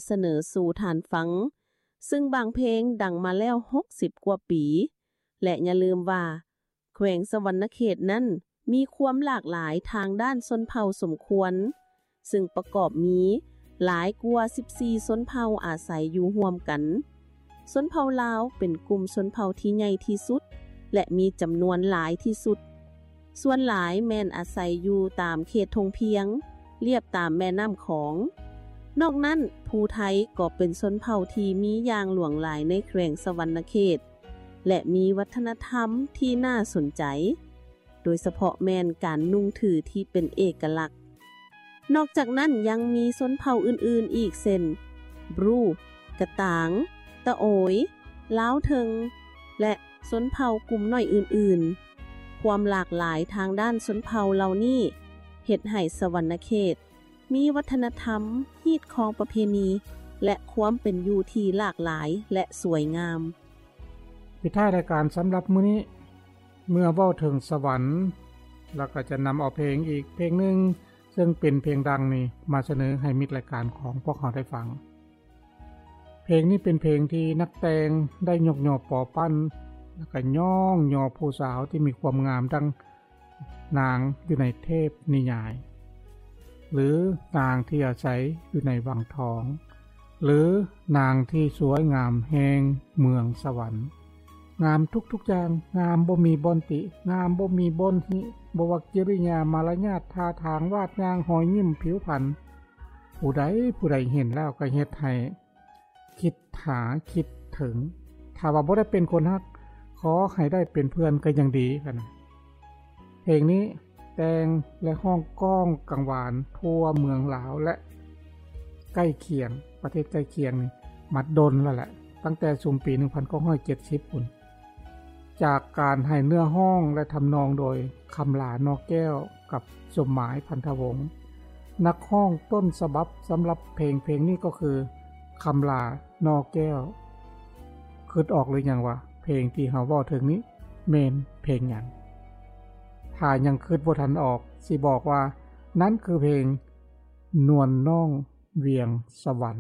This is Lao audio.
ສະເໜີສູ່ທ່ານຟັງ, ຊຶ່ງບາງເພງດັງມາແລ້ວຫົກສິບກວ່າປີ. ແລະ ຢ່າລືມວ່າ ແຂວງສະຫວັນນະເຂດນັ້ນມີຄວາມຫຼາກຫຼາຍທາງດ້ານຊົນເຜົ່າສົມຄວນ, ຊຶ່ງປະກອບມີຫຼາຍກວ່າສິບສີ່ຊົນເຜົ່າອາໄສຢູ່ຮ່ວມກັນ. ຊົນເຜົ່າລາວເປັນກຸ່ມຊົນເຜົ່າທີ່ໃຫຍ່ທີ່ສຸດ ແລະ ມີຈຳນວນຫຼາຍທີ່ສຸດ. ສ່ວນຫຼາຍແມ່ນອາໄສຢູ່ຕາມເຂດທົ່ງພຽງ, ລຽບຕາມແມ່ນ້ຳຂອງ. ນອກນັ້ນ, ຜູ້ໄທກໍເປັນຊົນເຜົ່າທີ່ມີຢ່າງຫຼວງຫຼາຍໃນແຂວງສະຫວັນນະເຂດ ແລະ ມີວັດທະນະທຳທີ່ໜ້າສົນໃຈ, ໂດຍສະເພາະແມ່ນການນຸ່ງຖືທີ່ເປັນເອກະລັກ. ນອກຈາກນັ້ນຍັງມີຊົນເຜົ່າອື່ນໆອີກເຊັ່ນ ບຣູ, ກະຕາງ, ຕະໂອຍ, ລາວເທິງ ແລະ ຊົນເຜົ່າກຸ່ມນ້ອຍອື່ນໆ. ຄວາມຫຼາກຫຼາຍທາງດ້ານຊົນເຜົ່າເຫຼົ່ານີ້ເຮັດໃຫ້ສະຫວັນນະເຂດມີວັດທະນະທຳ, ຮີດຄອງປະເພນີ ແລະ ຄວາມເປັນຢູ່ທີ່ຫຼາກຫຼາຍ ແລະ ສວຍງາມ. ປິດທ້າຍລາຍການສຳລັບມື້ນີ້, ເມື່ອເວົ້າເຖິງສະຫວັນ, ລະກະຈະນຳເອົາເພງອີກເພງໜຶ່ງ ເຊິ່ງເປັນເພງດັງນີ້ມາສະເໜີໃຫ້ມິດລາຍການຂອງພວກເຮົາໄດ້ຟັງ. ເພງນີ້ເປັນເພງທີ່ນັກແຕ່ງໄດ້ຍົກຍໍປໍປັ້ນ ລະກະຍ້ອງຍໍຜູ້ສາວທີ່ມີຄວາມງາມດັ່ງນາງຢູ່ໃນເທບນິຍາຍ ຫຼື ນາງທີ່ອາໄສຢູ່ໃນວັງທອງ ຫຼື ນາງທີ່ສວຍງາມແຫ່ງເມືອງສະຫວັນ. ງາມທຸກໆຢ່າງ, ງາມບໍ່ມີບ່ອນຕິ, ງາມບໍ່ມີບ່ອນຫິ, ບໍ່ວ່າກິລິຍາ, ມາລະຍາດ, ທ່າທາງ, ວາດຍ່າງ, ຮອຍຍິ້ມ, ຜິວພັນ, ຜູ້ໃດຜູ້ໃດເຫັນແລ້ວກໍເຮັດໃຫ້ຄິດຫາ, ຄິດເຖິງ. ຖ້າວ່າບໍ່ໄດ້ເປັນຄົນຮັກ, ຂໍໃຫ້ໄດ້ເປັນເພື່ອນກໍຍັງດີ. ເພງນີ້ແຕ່ງ ແລະ ຮ້ອງກ້ອງກັງວານທົ່ວເມືອງລາວ ແລະ ໃກ້ຄຽງ, ປະເທດໃກ້ຄຽງນີ້ມາດົນແລ້ວແຫຼະ, ຕັ້ງແຕ່ຊຸມປີໜຶ່ງພັນເກົ້າຮ້ອຍເຈັດສິບພຸ້ນ. ຈາກການໃຫ້ເນື້ອຮ້ອງ ແລະ ທຳນອງໂດຍຄຳຫຼາ ນອແກ້ວ ກັບສົມໝາຍ ພັນທະວົງ. ນັກຮ້ອງຕົ້ນສະບັບສຳລັບເພງເພງນີ້ກໍຄື ຄຳຫຼາ ນອແກ້ວ. ຄິດອອກຫຼືຍັງວ່າເພງທີ່ເຮົາເວົ້າເຖິງນີ້ແມ່ນເພງຫຍັງ? ຖ້າຍັງຄິດບໍ່ທັນອອກ, ຊິບອກວ່ານັ້ນຄືເພງ ນວນນ້ອງວຽງສະຫວັນ.